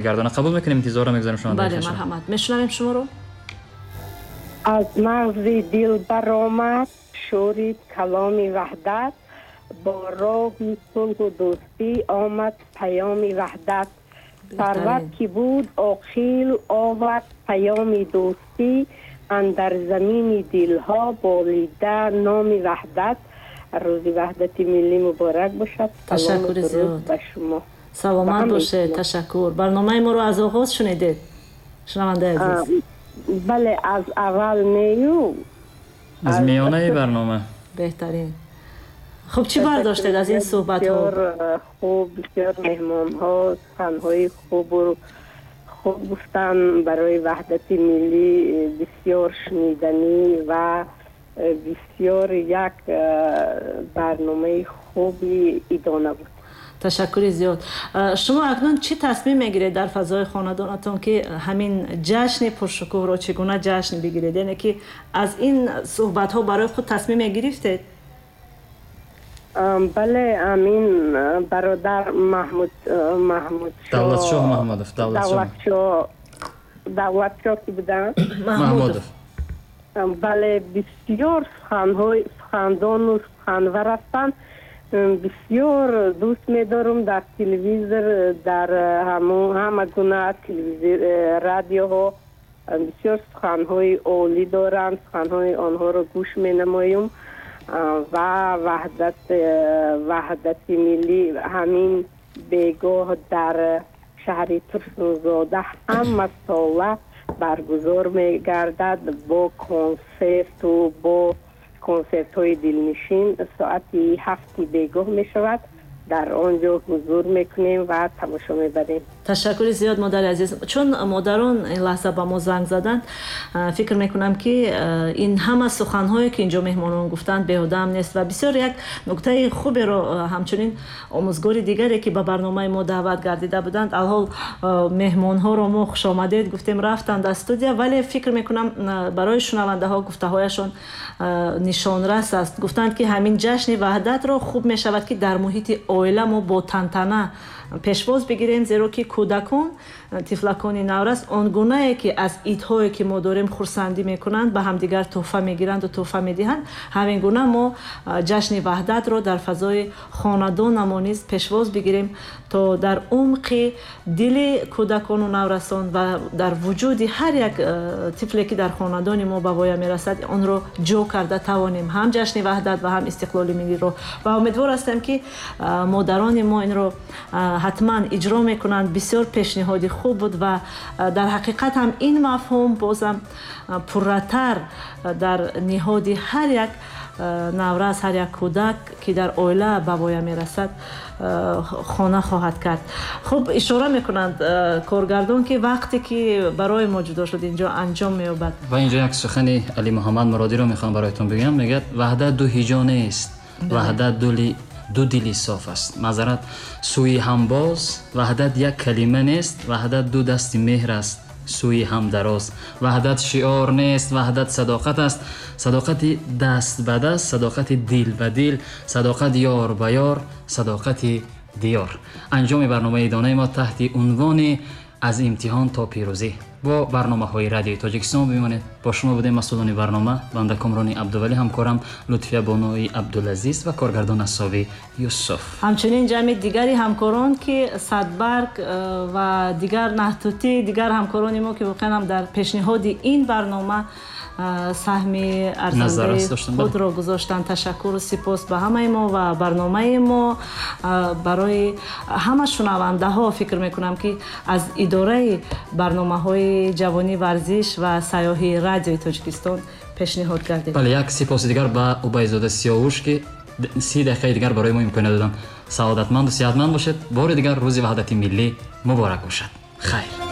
Гардона қабул мекунем, интизорро мегузорем шумо. Бале, марҳамат, мешунавем шуморо. Аз мағзи дил баромад шӯри каломи ваҳдат, бо роҳи сулҳу дӯстӣ омад паёми ваҳдат. Сарват ки буд оқил овард паёми дӯстӣ, андар замини дилҳо болида номи ваҳдат. Рӯзи ваҳдати миллӣ муборак бошад. Ташаккури зиёд ба шумо. Саломат бошед, ташаккур. Барномаи моро аз оғоз шунидед, шунавандаи азиз? Бале, аз аввал нею. Аз миёнаи барнома. Беҳтарин. Хуб, чӣ бардоштед аз ин суҳбатҳо? Бисёр хуб, бисёр меҳмонҳо суханҳои хубу хуб гуфтанд барои ваҳдати миллӣ, бисёр шуниданӣ ва бисёр як барномаи хуби идона буд. Ташаккури зиёд. Шумо акнун чӣ тасмим мегиред дар фазои хонадонатон, ки ҳамин ҷашни пуршукӯҳро чӣ гуна ҷашн бигиред? Яъне ки аз ин суҳбатҳо барои худ тасмим мегирифтед? Бале, амин бародар Маҳмуд Маҳмуд Давлатшоҳ Маҳмудов, Давлатшоҳ, Давлатшоҳ ки буданд? Маҳмудов. Бале, бисёр суханҳои сухандону суханвар ҳастанд, бисёр дӯст медорам. Дар телевизор, дар ҳама гуна телевизор, радиоҳо бисёр суханҳои олӣ доранд, суханҳои онҳоро гӯш менамоем. Ва ваҳдати миллӣ ҳамин бегоҳ дар шаҳри Турсунзода ҳама сола баргузор мегардад бо консерту бо консертҳои дилнишин. Соати 7-и бегоҳ мешавад, дар он ҷо ҳузур мекунем ва тамошо мебарем. Ташаккури зиёд, модари азиз. Чун модарон ин лаҳза ба мо занг заданд, фикр мекунам, ки ин ҳама суханҳое, ки инҷо меҳмонон гуфтанд, беҳудаам нест ва бисёр як нуктаи хуберо ҳамчунин омӯзгори дигаре, ки ба барномаи мо даъват гардида буданд, алҳол меҳмонҳоро мо хушомадед гуфтем, рафтанд аз студия, вале фикр мекунам, барои шунавандаҳо гуфтаҳояшон нишонрас аст. Гуфтанд, ки ҳамин ҷашни ваҳдатро хуб мешавад, ки дар муҳити оила мо бо тантана пешвоз бигирем, зеро ки кӯдакон, тифлакони наврас он гунае, ки аз идҳое, ки мо дорем, хурсандӣ мекунанд, ба ҳамдигар тӯҳфа мегиранду тӯҳфа медиҳанд, ҳамин гуна мо ҷашни ваҳдатро дар фазои хонадонамо низ пешвоз бигирем, то дар умқи дили кӯдакону наврасон ва дар вуҷуди ҳар як тифле, ки дар хонадони мо ба воя мерасад, онро ҷо карда тавонем, ҳам ҷашни ваҳдат ва ҳам истиқлоли миллиро. Ва умедвор ҳастем, ки модарони мо инро ҳатман иҷро мекунанд. Бисёр пешниҳоди хуб буд ва дар ҳақиқат ҳам ин мафҳум бозам пурратар дар ниҳоди ҳар як наврас, ҳар як кӯдак, ки дар оила ба воя мерасад, хона хоҳад кард. Хуб, ишора мекунанд коргардон, ки вақте ки барои мо ҷудо шуд, инҷо анҷом меёбад. Ва инҷо як сухани Алимуҳаммад Муродиро мехоҳам бароятон бигӯям. Мегӯяд: ваҳдат ду ҳиҷо нест, ваҳдат ду дили соф аст, маъзарат, сӯи ҳамбоз. Ваҳдат як калима нест, ваҳдат ду дасти меҳр аст, сӯи ҳам дароз. Ваҳдат шиор нест, ваҳдат садоқат аст, садоқати даст ба даст, садоқати дил ба дил, садоқат ёр ба ёр, садоқати диёр. Анҷоми барномаи идонаи мо таҳти унвони «Аз имтиҳон то пирӯзӣ». Бо барномаҳои Радиои Тоҷикистон бимонед. Бо шумо будем масъулони барнома: банда Комрони Абдувалӣ, ҳамкорам Лутфия Бонои Абдулазиз ва коргардон Асови Юсуф. Ҳамчунин ҷамъи дигари ҳамкорон, ки Садбарг ва дигар Наҳтутӣ, дигар ҳамкорони мо, ки воқеан ҳам дар пешниҳоди ин барнома саҳми арзандаи худро гузоштанд. Ташаккуру сипос ба ҳамаи мо ва барномаи мо барои ҳама шунавандаҳо, фикр мекунам, ки аз идораи барномаҳои ҷавонӣ, варзиш ва сайёҳии Радиои Тоҷикистон пешниҳод гардид. Бале, як сипоси дигар ба Убайзода Сиёвуш, ки 30 дақиқаи дигар барои мо имконият доданд. Саодатманду сиҳатманд бошед. Бори дигар Рӯзи ваҳдати миллӣ муборак бошад. Хайр.